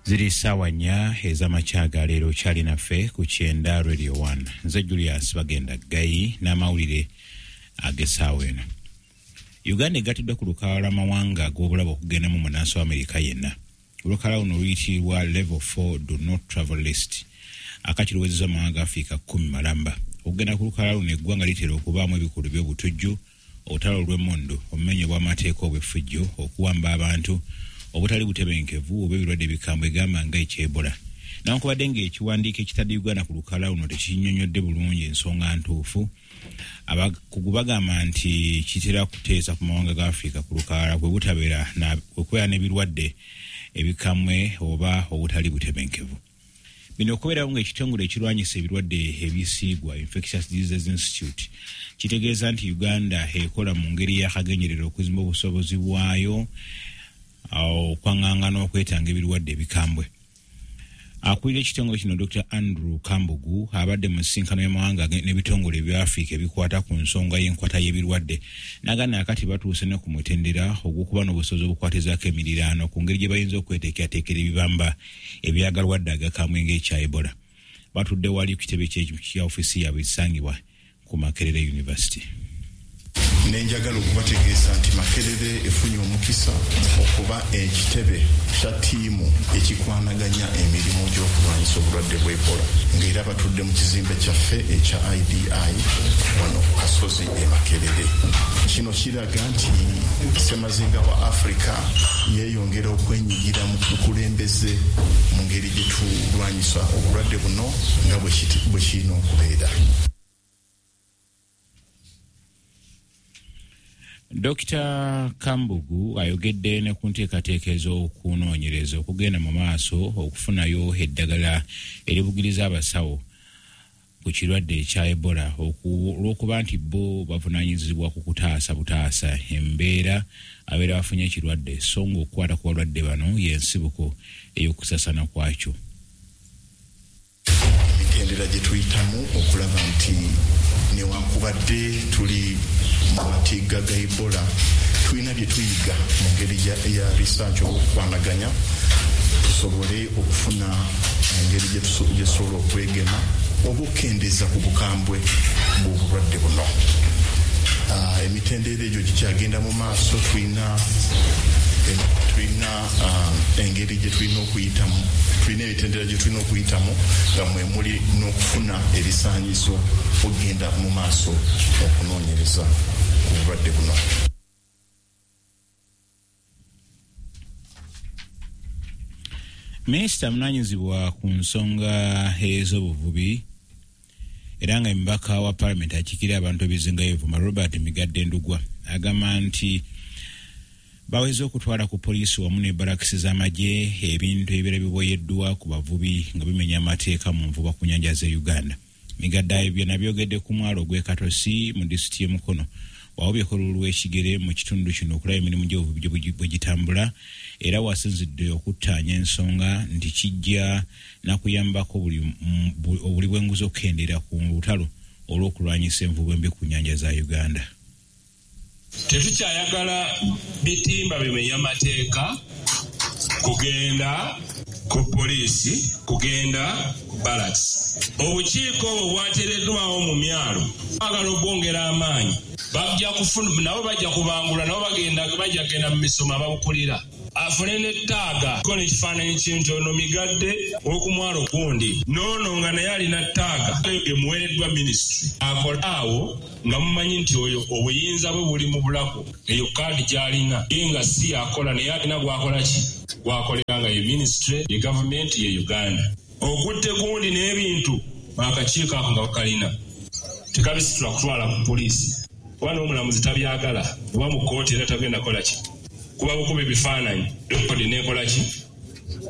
Ziri ssaawa 4 ez'amakya ga leero. Kyali naffe ku Kyenda Radio 1. Nze Julius Bagenda Ggayi n'amawulire ag'essaawa eno. Uganda egattiddwa ku lukalala lw'amawanga ag'obulabe okugendamu munnansi wa Amerika yenna. Olukalala luno luyitibwa Level 4 Do Not Travel List. Akati luwezezza amawanga ga Afrika 10 malamba. Okugenda ku lukalala luno eggwanga litera okubaamu ebikolwa eby'obutujju, olutalo lw'emmundu, obumenyi bw'amateeka obw'effujjo, okuwamba abantu, obutali butebenkevu oba ebirwadde ebikambwe gamba nga ekya Ebola. Newankubadde ng'ekiwandiiko ekitadde Uganda ku lukalala luno tekinnyonnyodde bulungi ensonga ntuufu, abakugu bagamba nti kitera kuteesa ku mawanga ga Afrika ku lukalala kwe butabeera na kwe kubeera n'ebirwadde ebikambwe oba obutali butebenkevu. Bino okubeerawo ng'ekitongole ekirwanyisa ebirwadde ebisiigwa, Infectious Diseases Institute, kitegeeza nti Uganda ekola mu ngeri y'akagenderere okuzimba obusobozi bwayo okwaŋŋanga n'okwetanga ebirwadde ebikambwe. Akulira ekitongole kino Dr. Andrew Kambugu abadde mu nsisinkano y'amawanga n'ebitongole ebya Afrika ebikwata ku nsonga y'enkwata y'ebirwadde n'agamba akati batuuse ne ku mutendera ogw'okuba n'obusobozi obukwatizaako emiriraano ku ngeri gye bayinza okweteekerateekera ebibamba ebyagalwadde agakambwe ng'ekya Ebola. Batudde wali ku kitebe kya ofiisi yaabwe ekisangibwa ku Makerere University. Nenjagala okubategeeza nti Makerere efunye omukisa okuba ekitebe kya ttiimu ekikwanaganya emirimu gy'okulwanyisa obulwadde bwa Ebola, ng'era batudde mu kizimbe kyaffe ekya IDI wano ku Kasozi e Makerere. Kino kiraga nti ssemazinga wa Africa yeeyongera okwenyigira mu bukulembeze mu ngeri gye tulwanyisa obulwadde buno nga bwe kirina okubeera. Dr. Kambugu ayogedde ne ku nteekateeka ez'okunoonyereza okugenda mu maaso okufunayo eddagala eribugiriza abasawo ku kirwadde ekya Ebola olw'okuba nti bo bavunaanyizibwa ku kutaasa butaasa embeera abeera bafunye ekirwadde, so ng'okukwata ku balwadde bano y'ensibuko ey'okusaasaana kwakyo. Emitendera gye tuyitamu okulaba nti newankubadde tuli mu matigga ga Ebola, tulina bye tuyiga mu ngeri ya research oba okukwanaganya tusobole okufuna engeri gye tusobola okwegema oba okukendeeza ku bukambwe bw'obulwadde buno. Emitendera egyo gikyagenda mu maaso, tulina engeri gye tulina okuyitamu, tulina emitendera gye tulina okuyitamu nga mwe muli n'okufuna ebisaanyizo okugenda mu maaso okunoonyereza ku bulwadde buno. Minisita avunaanyizibwa ku nsonga ez'obuvubi era nga omubaka wa Palamenti akiikirira abantu ebizinga y'Ebuvuma Robert Migadde Ndugwa agamba nti baweze okutwala ku poliisi wamu ne barakisi z'amagye ebintu ebibeera biboyeddwa ku bavubi nga bimenya amateeka mu nvuba ku nnyanja z'e Uganda. Migadde ebyo nabyogedde ku mwalo gw'e Katosi mu disitulikiti y'e Mukono wawubyeko olulu lw'ekigere mu kitundu kino okulaba emirimu gy'obuvubi bwe gitambula, era wasinzidde okuttaanya ensonga nti kijja nakuyambako obuli bw'enguzi okukendeera ku lutalo olw'okulwanyisa envuba embi ku nnyanja za Uganda. Tetukyayagala bitimba bimenya mateeka kugenda ku poliisi, kugenda ku barracks. Obukiiko obwo bwateereddwawo mu myalo, baagala okwongera amaanyi, bajja kufuna nabo bajja kubangula nabo bagenda bajja kugenda mu misomo ababukulira afune ne tag ko n'ekifaananyi kintu ono Migadde ow'okumwalo gundi n'ono nga naye alina tag emuweereddwa minisitule akola awo nga mumanyi nti oyo obuyinza bwe buli mu bulago, eyo kaadi gy'alina ye nga si yakola naye alina gwakola ki gwakolera nga ye minisitule ye gavumenti ye Uganda. Okutte gundi n'ebintu akakiiko ako nga bakalina tekabisitula kutwala ku poliisi kuba n'omulamuzi tabyagala oba mu kkooti era tagenda kukola ki kuba bukuba ebifaananyi rekodi neekola ki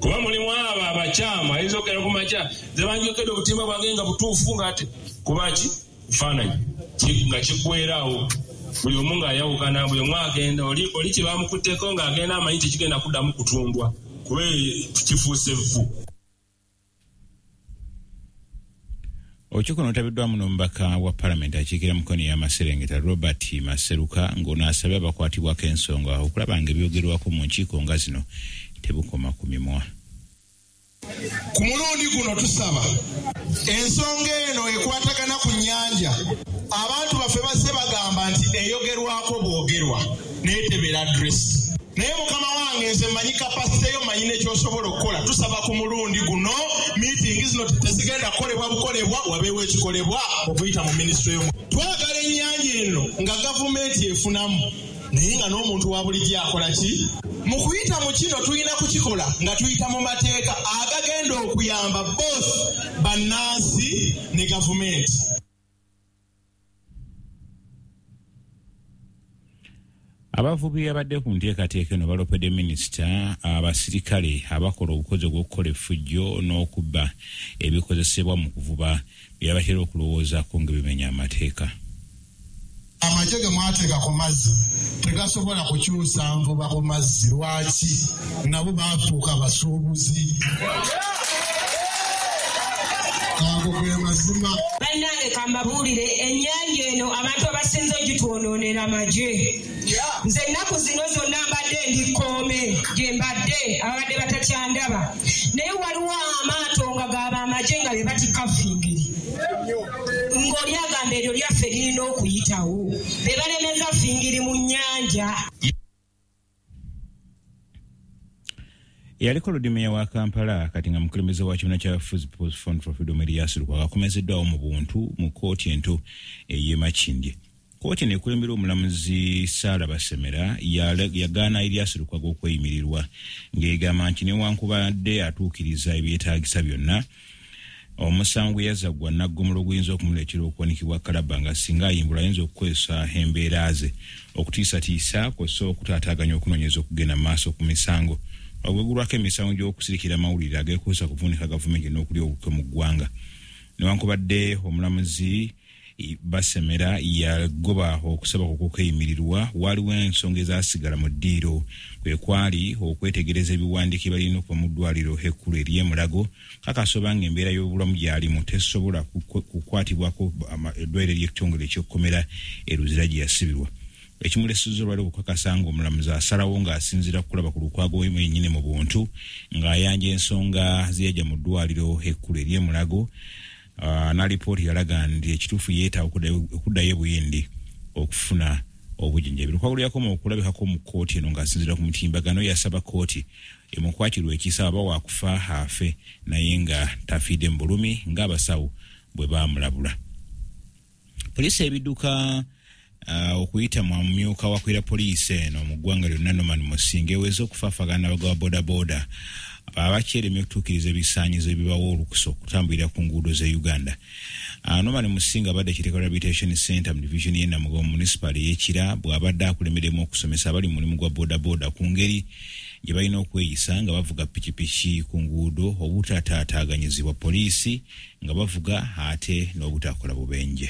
kuba mulimu abo abakyamu ayinza okugenda ku makya nze banjokedde obutimba bwange nga butuufu ng'ate kuba ki bifaananyi nga kiggweeraawo buli omu ng'ayawukana buli omu agenda oli kye bamukutteko ng'agenda amanyi tekigenda kuddamu kutundwa kuba kifuuse vvu. Olukiiko luno lwetabiddwamu n'omubaka wa Palamenti akiikirira Mukono ey'amaserengeta Robert Maseruka ng'ono asabye abakwatibwako ensonga okulaba nga ebyogerwako mu nkiiko nga zino tebukoma ku mimwa. Ku mulundi guno tusaba ensonga eno ekwatagana ku nnyanja, abantu baffe bazze bagamba nti eyogerwako bwogerwa naye tebeera addressed. Naye mukama wange nze mmanyi capacity yo, mmanyi n'ekyosobola okukola. Tusaba ku mulundi guno meeting zino tezigenda kukolebwa bukolebwa, wabeewo ekikolebwa okuyita mu minisitule y'omu. Twagala ennyanja eno nga gavumenti efunamu, naye nga n'omuntu wa bulijjo akola ki? Mu kuyita mu kino tulina kukikola nga tuyita mu mateeka agagenda okuyamba both bannansi ne gavumenti. Abavubi abadde ku nteekateeka eno balopedde minisita abasirikale abakola obukozi obw'okukola effujjo n'okubba ebikozesebwa mu kuvuba bye batera okulowoozaako nga bimenya amateeka. Amagye ge mwateeka ku mazzi tegasobola kukyusa nvuba ku mazzi. Lwaki? Nabo baafuuka basuubuzi. Ago ge mazima. Bannange kambabuulire, ennyanja eno abantu abasinze ogitwonoonera magye. Nze ennaku zino zonna mbadde ndi kkoome gye mbadde, ababadde batakyandaba, naye waliwo amaato nga gaba amagye nga be batikka fingiri, ng'oli agamba eryo lyaffe lirina okuyitawo, be balemeza fingiri mu nnyanja. Eyaliko Lord wa Kampala kati nga mukulembeze wa kibiina kya People's Front for Freedom Erias Lukwago akomezeddwawo mu buntu mu kkooti ento ey'e Makindye. Kkooti eno ekulembera omulamuzi Sarah Basemera yagaana Erias Lukwago okweyimirirwa ng'egamba nti newankubadde atuukiriza ebyetaagisa byonna, omusango gwe yazza gwa naggomola oguyinza okumuleetera okuwanikibwa kalabba nga singa ayimbulwa ayinza okukozesa embeera ze okutiisatiisa kw'ossa okutaataaganya okunoonyereza okugenda mu maaso ku misango. Ogwegulwako emisango gy'okusirikira amawulire ageekuusa kuvuunika gavumenti n'okulya olukwe mu ggwanga. Newankubadde omulamuzi Basemera yagoba okusaba okweyimirirwa, waliwo ensonga ezaasigala mu ddiiro, kwe kwali okwetegereza ebiwandiiko ebalina okuva mu ddwaliro ekkulu ery'e Mulago kakasa oba ng'embeera y'obulamu gy'alimu tesobola kukwatibwako eddwaliro ery'ekitongole eky'okkomera e Luzira gye yasibirwa. Ekimulesezza olwali okukakasa ng'omulamuzi asalawo ng'asinziira kulaba ku Lukwago yennyini mu buntu ng'ayanja ensonga ze yajja mu ddwaliro ekkulu ery'e Mulago. N'alipooti yalaga nti ekituufu yeetaaga okuddayo e Buyindi okufuna obujjanjabi. Lukwago yakoma okulabikako mu kkooti eno ng'asinziira ku mutimbagano, yasaba kkooti emukwatirwe ekisa aba waakufa afe naye nga tafiidde mu bulumi ng'abasawo bwe baamulabula. Poliisi ebidduka okuyita mu mumyuka wakwira poliisi eno mu ggwanga lyonna Norman Musinga eweze okufaafagana n'abagawa bodaboda abakyeremye okutuukiriza ebisaanyizo ebibawa olukusa okutambulira ku nguudo z'e Uganda. Norman Musinga abadde Kireka Rehabilitation Center mu division y'e Namugongo municipal ey'e Kira bw'abadde akulemberemu okusomesa abali mu mulimu gwa bodaboda ku ngeri gye balina okweyisa nga bavuga pikipiki ku nguudo, obutataataaganyizibwa poliisi nga bavuga ate n'obutakola bubenje.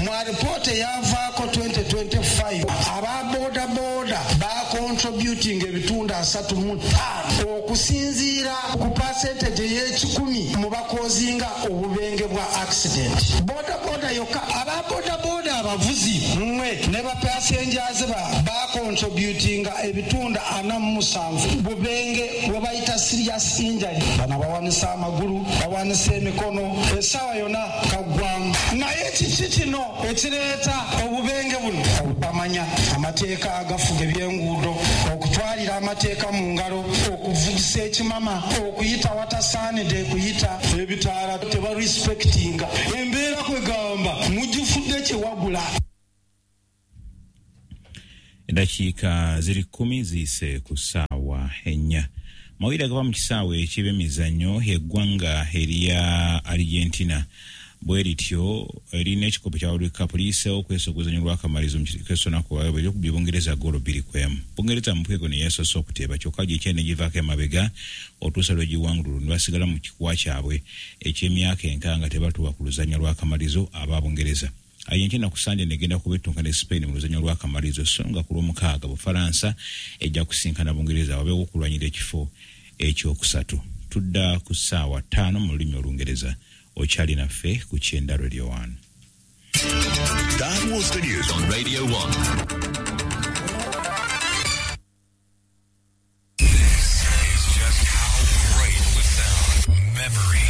Mu alipoota eyavaako 2025, aba bodaboda bacontributing ebitundu 35 okusinziira ku percentage ey'ekikumi mu bakozinga obubenge bwa accident. Bodaboda yokka, aba bodaboda abavuzi mmwe ne bapassengers bacontributinga ebitundu 47 bubenge bwe bayita serious injury. Bano bawanisa amagulu, bawanisa emikono, essaawa yonna kaggwamu. Naye kiki kino ekireeta obubenge buno? Obutamanya amateeka agafuga ebyenguudo, okutwalira amateeka mu ngalo, okuvugisa ekimama, okuyita watasaanidde kuyita, ebitaala tebarespectinga embeera, kwegamba mugifudde kyewagula. Eddakiika ziri 10 ziyise ku ssaawa 4. Mawulire agava mu kisaawe eky'ebyemizannyo, eggwanga erya Argentina bwe lityo erina ekikopo kya World Cup liyiseewo okwesa oguzanyo lw'akamalizo mu kesonaku eryokubye Bungereza goolo 2-1. Bungereza mu mpwego ne yasoose okuteeba, kyokka gyekyali ne givaako emabega otuusa lw'egiwangululu ne basigala mu kikuwa kyabwe eky'emyaka enkaaga nga tebatuuka ku luzannya lw'akamalizo aba Bungereza. Argentina ku Sande negenda kuba ettunka ne Spain mu luzannya lw'akamalizo, so nga ku Lwomukaaga Bufalansa ejja kusinkana Bungereza wabeewo okulwanyira ekifo ekyokusatu. Tudda ku ssaawa 5 mu lulimi Olungereza. Okyali naffe ku Kyenda Radio 1. That was the news on Radio 1. This is just How great the sound. Memories.